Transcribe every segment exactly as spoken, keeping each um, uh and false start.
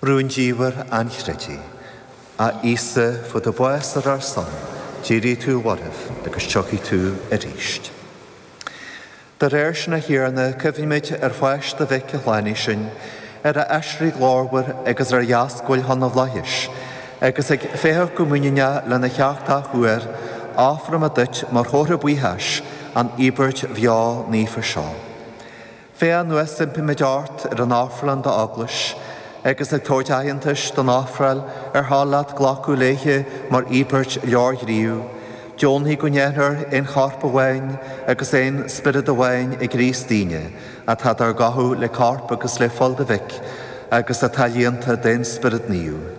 Rúndiamhair an chreidimh, a Íosa fuair do bhás ar ár son, d'éirigh tú ó mhairbh agus tiocfaidh tú arís. De réir sin a Thiarna, cuimhnímid ar pháis do mhic a shlánaigh sinn, ar a aiséirí glórmhar agus ar a dheascbhail chun na bhflaitheas, agus ag féachaint go muiníneach lena theacht athuair, ofrálaimid duit mar chomhartha buíochais an íobairt bheo naofa seo. Féach anuas impímid ort ar an ofráil d'eaglais, agus ag tabhairt aitheantais don ofráil ar thoil leat glacadh léi mar íobairt leorghníomh, Deonaigh go ndéanfar aon chorp amháin agus aon spiorad amháin i gCríost dínne, atá dár gcothú le corp agus le fuil do mhic, agus atá líonta den Spiorad Naomh.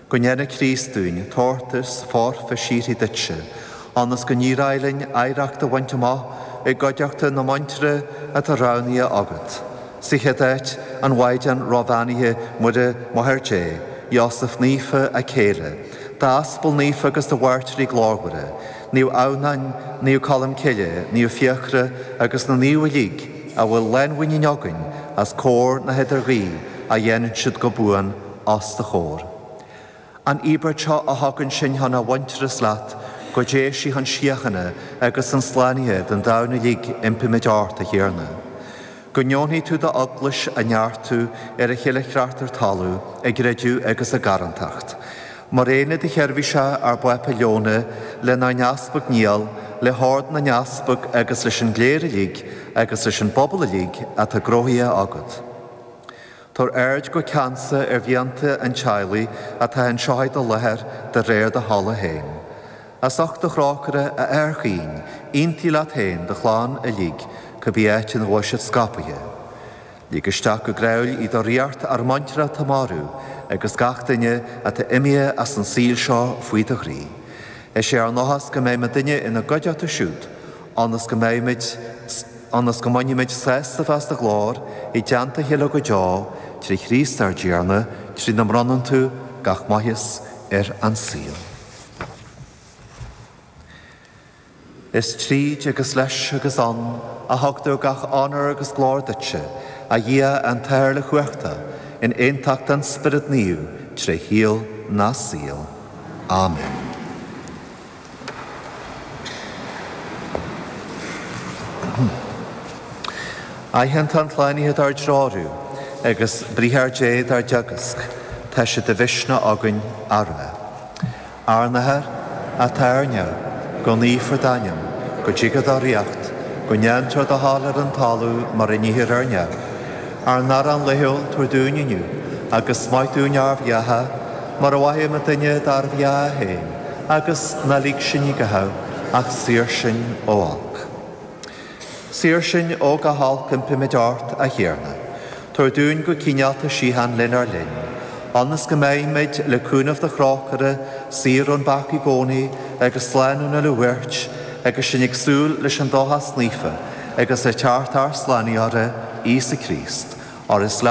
Go ndéana Críost dúinn tabhartas foirfe síoraí duitse, ionas go n-éireoidh linn oidhreacht a bhaint amach i gcuideachta na muintire atá roghnaithe agat. Sa chéad áit an Mhaighdean róbheannaithe Muire Máthair Dé, Iósaf Naofa a céile, d'aspail naofa agus do mhairtírí glórmhara, Naomh Adhamhnáin, Naomh Colm Cille, Naomh Fiachra agus na naoimh uilig a bhfuil lánmhuinín againn as cóir na hidirghuí a dhéanann siad go buan os do chomhair. An íobairt seo a thugann sinn chun a mhuintearas leat go dté sí chun síochána agus an tslánaithe don domhan uilig impímid ort a Thiarna. Go ndeonaí tú d'eaglais a neartú ar a chéile chreachtar talamh i gcreideamh agus i gcarthanacht. Mar aon le do sheirbhíseach ár bPápa Leon lenár n-easpag Niall, le hord na n-easpag agus leis an gcléir uilig agus leis an bpobal uilig atá gnóthaithe agat. Tabhair aird go ceansa ar mhianta an teaghlaigh atá anseo i do láthair de réir do thola féin. As ucht do thrócaire a Athair chaoin, aontaigh leat féin do chlann uilig cibé áit ina bhfuil siad scaipthe. Lig isteach go gráúil i do ríocht ár muintir atá marbh agus gach duine atá imithe as an saol seo faoi do ghroí. Is é ár ndóchas go mbeidh muidinne ina gcuideachta siúd, ionas go mbeimid ionas go mbainfimid sásamh as do ghlóir i dteannta a chéile go deo trí Chríost ár dTiarna, trína mbronnann tú gach maitheas ar an saol. Is tríd agus leis agus ann a thugtar gach onóir agus glóir duitse, a Dhia an tAthair uilechumhachtach, in aontacht an Spiorad Naomh tré shaol na saol. Amen. Aitheanta an tslánaithe dár dtreorú agus briathar Dé dár dteagasc, tá sé de mhisneach againn a rá. Ár n-Athair atá ar neamh, go naofar d'ainm, go dtiga do ríocht, go ndéantar do thoil ar an talamh mar a níthear ar neamh. Ár n-arán laethúil tabhair dúinn inniu, agus maith dúinn ár bhfiacha, mar a mhaithim duine dár bhfiacha féin, agus ná lig sinn i gcaitheamh, ach saor sinn ó olc. Saor sinn ó gach olc impímid ort a Thiarna. Tabhair dúinn go cineálta síocháin lenár linn, ionas go mbeimid le cúnamh do thrócaire, saor ón bpeaca i gcónaí agus slán ón uile bhuairt, agus sinn ag súil leis an dóchas naofa agus le teacht ár Slánaitheora, Íosa Críost, óir is leat